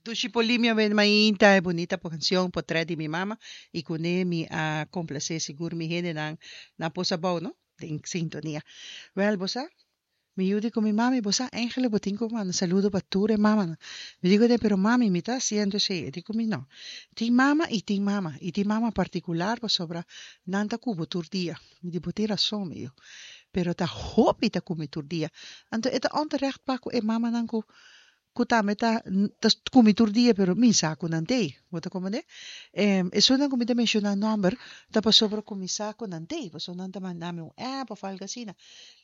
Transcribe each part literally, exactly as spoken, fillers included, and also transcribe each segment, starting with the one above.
Dushi Polimia ben mainta, e bunita cancion Potret di mi mama y cune mi a complace sigur mi hendenan na Pos Abou, no? Den sintonia. Wel, bo sa, mi yu di cu mi mami, bo sa, eigenlijk bo tin cu manda saludo pa tur e mamanan. Mi di cune, pero mami, mi ta haciendo esey. E di cu mi, no. Tin mama y tin mama. Y tin mama particular pasobra nan ta cu bo tur dia. Mi di, bo tin rason, mi yu. Pero ta hopi ta cu mi tur dia. Anto e ta onterecht pa cu e mamanan cu cu tambe ta ta cu mi tur dia pero mi sa cu nan t'ey. Bo ta comprende? Esunnan cu mi ta menciona nomber ta pasobra cu mi sa cu nan t'ey, pasobra nan ta manda mi un app of algo asina.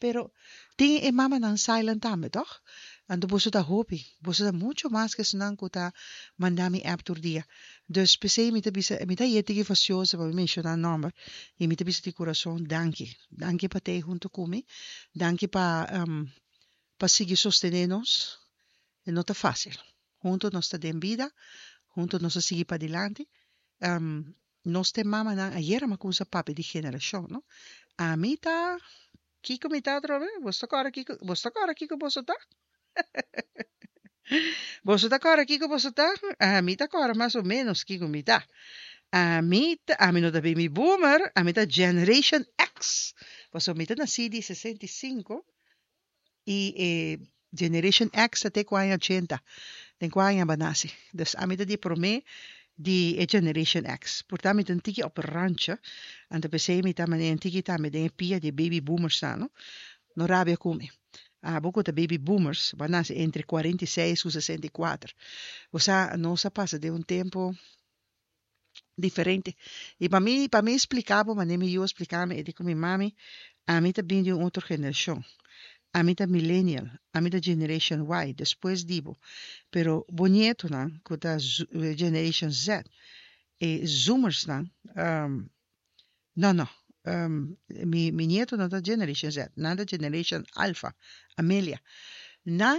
Pero tin e mamanan silent tambe, toch? Anto boso ta hopi, boso ta mucho mas cu esunnan cu ta manda mi app tur dia. Dus p'esey mi ta bisa, mi ta yeti fastioso pa mi menciona nomber y mi ta bisa di curason danki. Danki pa t'ey hunto cu mi, danki pa pa sigui sostene nos. E no ta fácil. Hunto nos ta den bida, hunto nos ta sigui padilanti. Nos ta e mamanan, ayera mi a cuminsa papia di generacion, no? Ami ta, kico mi ta atrobe? Boso ta corda kico, boso ta corda kico boso ta? Boso ta corda kico boso ta? Ami ta corda mas o menos kico mi ta. Ami ta, ami no ta baby boomer, ami ta Generation X. Pasobra mi ta naci di sesenta i sinku i e Generation X ta te ku aña ochenta, den ku aña bo a nase. Dus ami ta di promé di e Generation X. Por ta mi ta un tiki op randje, anto p'esei mi ta manera un tiki tambe den e pia di e baby boomersnan, no. No rabia ku mi. Abo ku ta baby boomers, bo a nase entre kuarenta i seis ku sesenta i kuater. Bo sa, nos a pasa den un tempu diferente. I pa mi, pa mi splika bo manera mi yu a splika mi, e di ku mi, Mami, ami ta bin di un otro generashon. Ami ta millennial, ami ta Generation Y, despues di bo. Pero bo nietonan ku ta Generation Z, e Zoomersnan, no, no, mi mi nieto no ta Generation Z, nan ta Generation Alpha, Amelia. Nan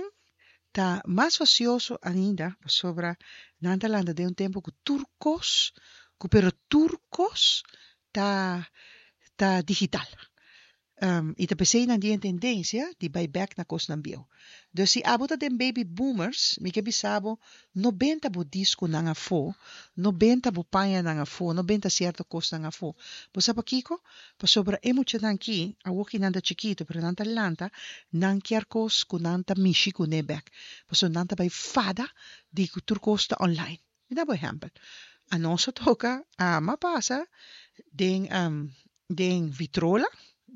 ta mas fasioso ainda pasobra nan ta lanta den un tempu ku tur kos, ku pero tur kos ta ta digital. I ta p'esei nan tin e tendensia di bai bèk na kosnan bieu. Dus si abo ta den baby boomers, mi ke bisa bo, no benta bo diskonan afó, no benta bo pañanan afó, no benta sierto kosnan afó. Bo sa pakiko? Pasobra e muchanan aki, awor ki nan ta chikitu, pero nan ta lanta, nan kier kos ku nan ta mishi kuné bèk. Pasobra nan ta bai fada di ku tur kos ta online. Mi da bo ehèmpel. Anos a toka ama pasa den den vitrola,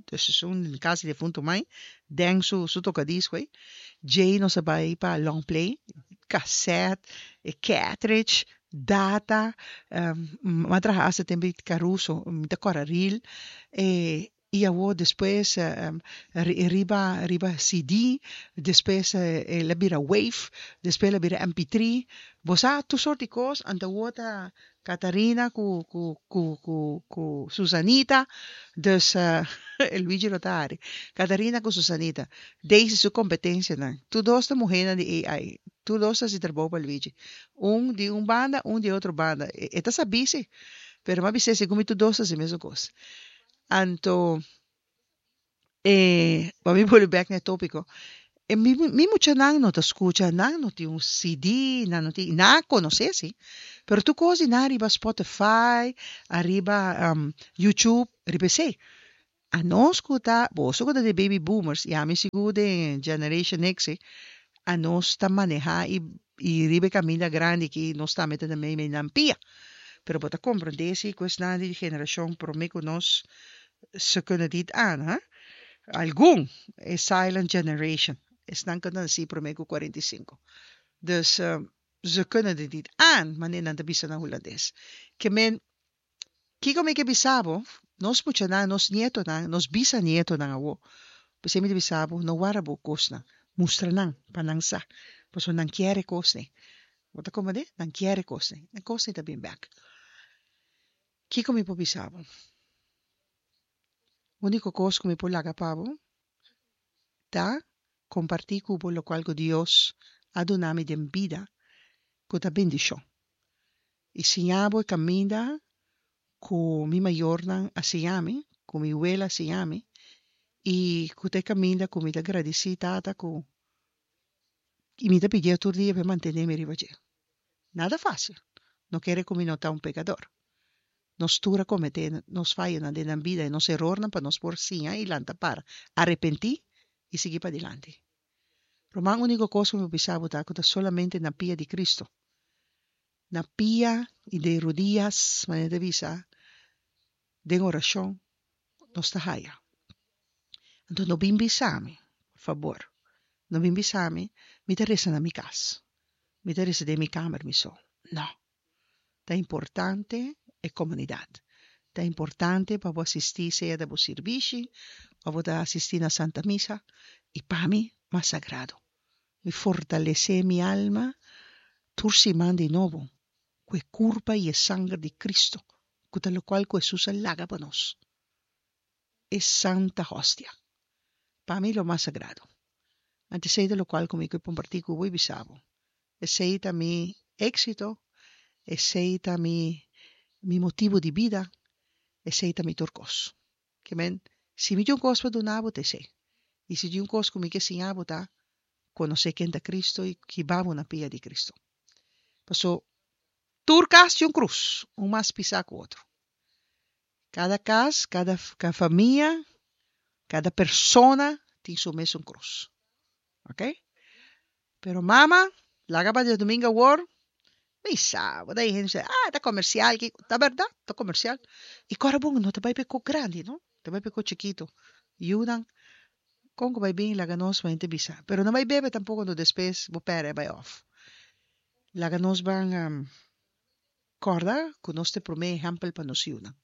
dus esun den kas di defuntu mai, den su su tokadisco ei. Djei nos a bai pa long play, kasèt, e cartridge, data, mi a traha asta tempu di Caruso, mi ta kòrda ril, e I awor despues riba riba C D, despues el a bira wave, despues el a bira M P tres. Bo sa tur sort di kos, anto awor ta Catarina ku ku ku ku ku Susanita, dus Luigi lo ta hari. Catarina ku Susanita, Daisy su kompetensianan, tur dos ta muhénan di A I, tur dos ta hasi trabou pa Luigi. Un di un banda, un di otro banda. E ta sabí si, pero mi a bis'é segun mi tur dos ta hasi mesun kos. Anto e pa mi bolbe bek na e tópiko, e mi mi muchanan no ta skucha, nan no tin un C D, nan no tin, nan a konosé si, pero tur kos di nan riba Spotify, ariba YouTube, riba esei. Anos ku ta, boso ku ta di baby boomers, i ami sigur den Generation X, anos ta manehá i i riba e kaminda grandi aki nos tambe ta mei mei nan pia. Pero bo ta komprendé si ku esnan di generashon promé ku nos ze kunnen dit aan, hè? Algun, e silent generation, esnan ku ta nasí promé ku kuarenta i sinku. Dus ze kunnen dit niet aan, manera nan ta bisa na hulandes. Ke men, kiko mi ke bisa bo, nos muchanan, nos nietonan, nos bisanietonan awor, p'esei mi ta bisa bo, no warda bo kosnan, mustra nan pa nan sa, pasobra nan kier e kosnan. Bo ta komprendé? Nan kier e kosnan. E kosnan ta bin bèk. Kiko mi por bisa bo? Úniko kos ku mi por laga pa bo ta kompartí ku bo lokual ku Dios a duna mi den bida ku ta bendishon. I siña bo e kaminda ku mi mayornan a siña mi, ku mi wela a siña mi, i ku ta e kaminda ku mi ta gradisí Tata ku i mi ta pidié tur dia pa e mantené mi riba dje. Nada fásil. No kere ku mi no ta un pekador. Nos tur a kometé nos fayonan den nan bida i nos erornan pa nos por siña i lanta para, arepentí i sigui padilanti. Ruman, úniko kos ku mi por bisa bo ta ku ta solamente na pia di Kristu, na pia i den rudias, manera ta bisa, den orashon, nos ta haya. Anto no bin bisa mi, por fabor, no bin bisa mi, mi ta resa na mi kas, mi ta resa den mi kamer mi so. No. Ta importante e komunidat. Ta importante pa bo asistí sea ta bo sirbishi òf bo ta asistí na Santa Misa i pa mi mas sagrado. Mi fortalesé mi alma tur siman di nobo ku e kurpa i e sanger di Cristo ku ta lokual ku Hesus a laga pa nos, e Santa Hostia. Pa mi lo mas sagrado. Anto esei ta lokual ku mi ke kompartí ku bo i bisa bo. Esei ta mi éksito, esei ta mi mi motibu di bida, esei ta mi tur kos. Ke men, si mi tin un kos pa duna bo ta esei. I si tin un kos ku mi ke siña bo ta konosé ken ta Cristo i hiba bo na pia di Cristo. Paso tur kas tin un krus, un mas pisá ku otro. Kada kas, kada famia, kada persona tin su mesun krus. Ok? Pero mama, laga pa djadumingu awor, mi sa, bo ta hende sa, ah, ta komersial, kiko. Ta bèrdat, ta komersial. I kòrda bon, no ta bai pa e kos grandi, no. Ta bai pa e kos chikitu. Yunan, kon ku bai bin laga nos mente bisa. Pero no bai bebe tampoko, anto despues bo pèrdè bai òf. Laga nos ban kòrda ku nos ta e promé ehèmpel pa nos yunan.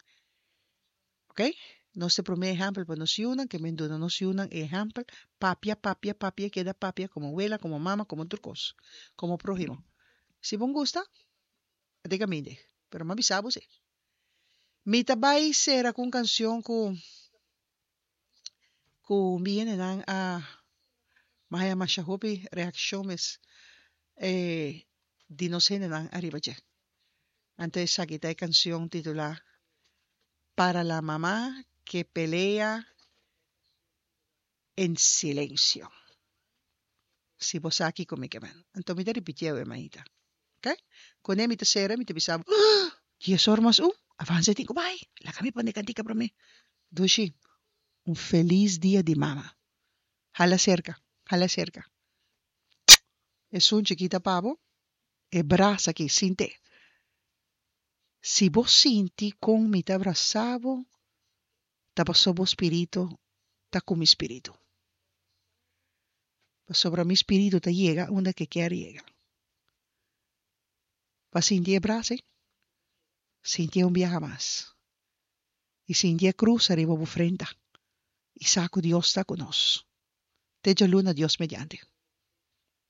Ok? Nos ta e promé ehèmpel pa nos yunan, ke men duna nos yunan e ehèmpel, papia, papia, papia, keda papia komo wela, komo mama, komo tur kos, komo próhimo. Si bo gusta, a den kaminda, pero mi a bisa bo si. Mi ta bai sera ku un kanshon ku ku mi hendenan a mi a haña masha hopi reakshon mes di nos hendenan ariba dje. Anto esaki ta e kanshon titulá Para la mamá que pelea en silencio. Si bo sa kiko mi ke men. Anto mi ta ripitié e maita. Ok? Kuné mi ta sera mi ta bisa bo, Dies or mas un, avansa e tin ku bai. Laga mi pone e kantika promé. Dushi, un felis dia di mama. Hala serka, hala serka. Esun chikita pa bo, e brasa aki, sint'é. Si bo sinti kon mi ta brasa bo, ta pasobra bo spiritu ta ku mi spiritu. Pasobra mi spiritu ta yega unda ke kier yega. Pa sinti e brasa ei, sintié un biaha mas. I sinti e krus ariba bo frenta i sa ku Dios ta ku nos. Te djaluna Dios mediante.